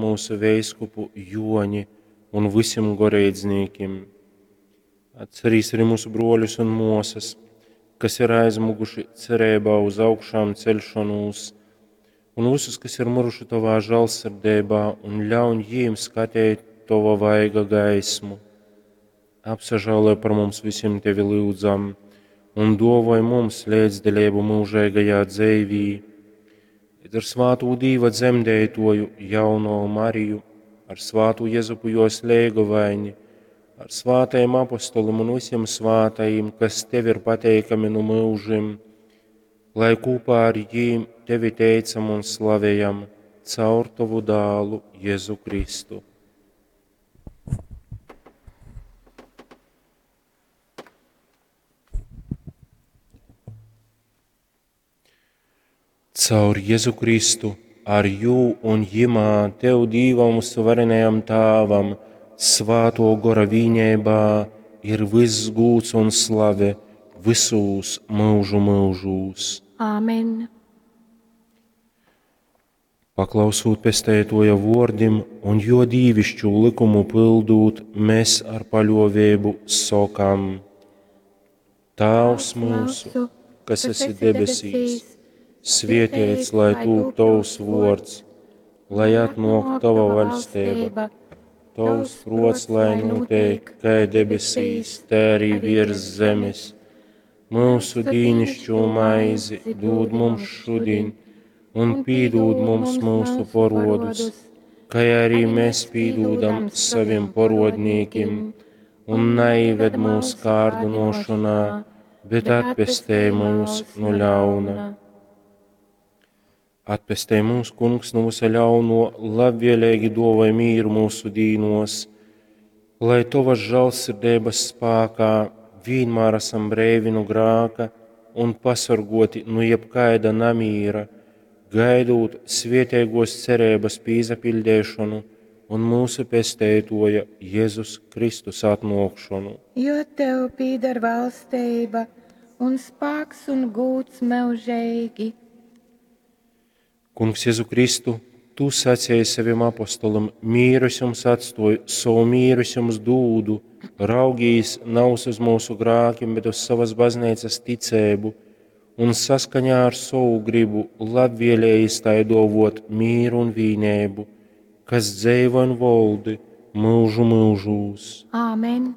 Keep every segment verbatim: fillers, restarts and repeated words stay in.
mūsu veiskupu Joni un visim goreidznīkim. Atcerīs arī mūsu broļus un mosas, kas ir aizmuguši cerībā uz augšām celšanos, un visus, kas ir miruši tavā žēlsirdībā, un ļauj jīm skatīt tava vaiga gaismu. Apsažēloj par mums visiem tevi lūdzam, un dovoj mums līdzdalību mūžīgajā dzīvī. Bet ar svātu Dīva dzemdētoju jauno Mariju, ar svātu Jezupu jos leigovaini, ar svātajiem apostolim un visiem svātajiem, kas tev ir pateikami no mūžim, lai kopā ar jīm tevi teicam un slavējam caur tavu dālu Jēzu Kristu. Caur Jēzu Kristu, ar jū un jimā, tev Dīvam suverenajam Tāvam, svāto gora vīņībā ir viss gūts un slave visūs mūžu mūžūs. Āmen. Paklausūt pestētoja vordim un jo dīvišķu likumu pildūt, mēs ar paļovēbu sokam: Tāvs mūsu, kas esi debesīs, svietēts, lai tūp tavs vords, lai atnok tava vaļstība, tavs prots, lai notiek, kā debesīs, tā arī virs zemes. Mūsu dīnišķo maizi dod mums šodien, un pīdod mums mūsu porodus, kā arī mēs pīdodam saviem porodnīkim, un neived mūs kārdinošanā, bet atpestē mūs no ļauna. Atpestē mūs, Kungs, no visa ļauno, labvēlīgi dovai mīru mūsu dīnos, lai tavas žēlsirdības spēkā vienmēr esam breivi no grāka un pasargoti no jebkaida namīra, gaidot svietēgos cerības pīzapildēšanu un mūsu pestētoja Jēzus Kristus atnākšanu. Jo tev pīdar valstība un spēks un gūts mūžīgi. Kungs Jēzu Kristu, tu sacīji saviem apostolim, mīru es jums atstoju, savu mīru es jums dūdu, raugīs nav uz mūsu grākiem, bet uz savas baznīcas ticēbu, un saskaņā ar savu gribu labvēlējis tai dovot mīru un vīnēbu, kas dzeivo un voldi mūžu mūžūs. Āmen.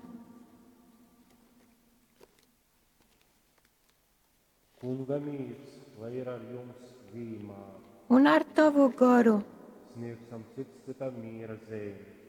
Kunga mīrs, lai ir ar jums vienmēr. Un ar tavu goru. Sniegsim cits citam miera zīmi.